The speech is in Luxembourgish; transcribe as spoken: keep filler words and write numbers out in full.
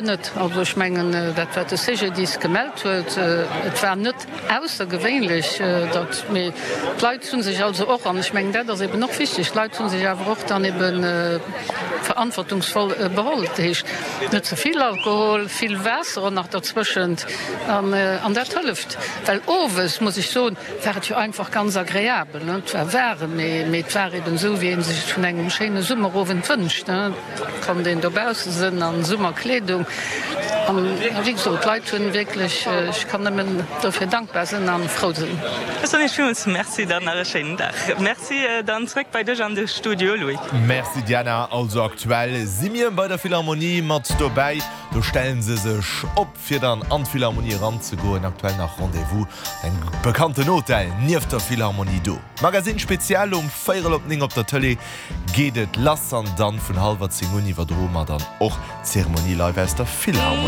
Net. Also ech mengen, dat wat de CGDIS gemellt huet, et war net aussergewéinlech, datt, mee d'Leit hu sech also och, an ech mengen dat ass eben och wichteg, d'Leit hu sech awer och dann ebe verantwortungsvoll beholl. Dat heescht net ze vill Alkohol, vill Waasser och nach derzwëschent an an dat hëlleft. Well owes, muss ech soen, war et jo einfach ganz agreabel. Et war waarem, mee mee et war eben esou, wéi ee sech et vun engem schéine Summerowend wënscht. Et konnt een dobausse sënn an Summerkleedung. An wéi gesot, d'Leit hunn wierklech, ech kann nëmmen dofir dankbar sinn an frou sinn. Ech soen Iech villmools Merci, dann nach e schéinen Dag. Merci. Dann zréck bei dech an de Studio, Louis. Merci Diana. Also aktuell si mir bei der Philharmonie mat dobäi. Do stellen se sech op fir dann an d'Philharmonie eranzegoen. Aktuell nach Rendez-vous engem bekannten Hotel nieft der Philharmonie do. Magazine Spezial um véierel op néng op der Tëlee geet et lass an dann vun hallwer zéng un iwwerdroe mer dann och d'Zeremonie live aus der Philharmonie.